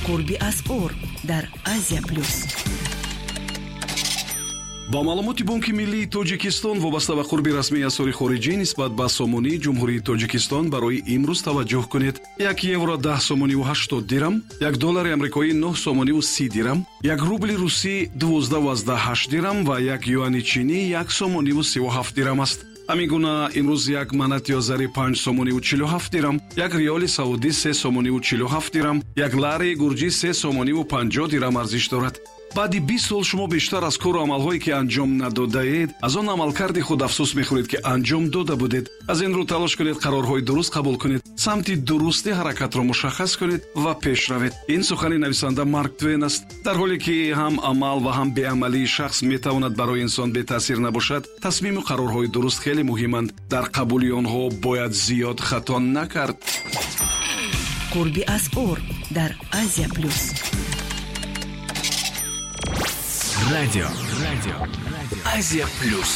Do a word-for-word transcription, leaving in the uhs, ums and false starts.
Қурби асъор дар Азия Плюс. Ба маълумоти Бонки миллии Тоҷикистон, вобаста ба қурби расмии асъори хориҷӣ нисбат ба сомонии Ҷумҳурии Тоҷикистон барои имрӯз таваҷҷӯҳ кунед: як евро даҳ сомониву ҳаштод дирам, як доллари амрикоӣ нӯҳ сомониву си дирам, як рубли русӣ дувоздаҳу ҳашт дирам ва як юани чинӣ як сомониву сиву ҳафт дирам аст. Ҳамин гуна имрӯз як манати озарӣ панҷ сомониву чилу ҳафт дирам, як риёли саудӣ се сомониву чилу ҳафт дирам, як лари гурҷӣ се сомониву панҷоҳ дирам арзиш дорад. Баъди бист сол шумо бештар аз кору амалҳое, ки анҷом надодаед, аз он амалкарди худ афсӯс мехӯред, ки анҷом дода будед. Аз ин рӯ талош кунед, қарорҳои дуруст қабул кунед, самти дурусти ҳаракатро мушаххас кунед ва пеш равед. Ин сухани нависанда Марк Твен аст. Дар ҳоле ки ҳам амал ва ҳам беамалии шахс метавонад барои инсон бетаъсир набошад, тасмиму қарорҳои дуруст хеле муҳиманд. Дар қабули онҳо бояд зиёд хато накард. Қурби асъор дар Азия Плюс. Радио, радио, Азия Плюс.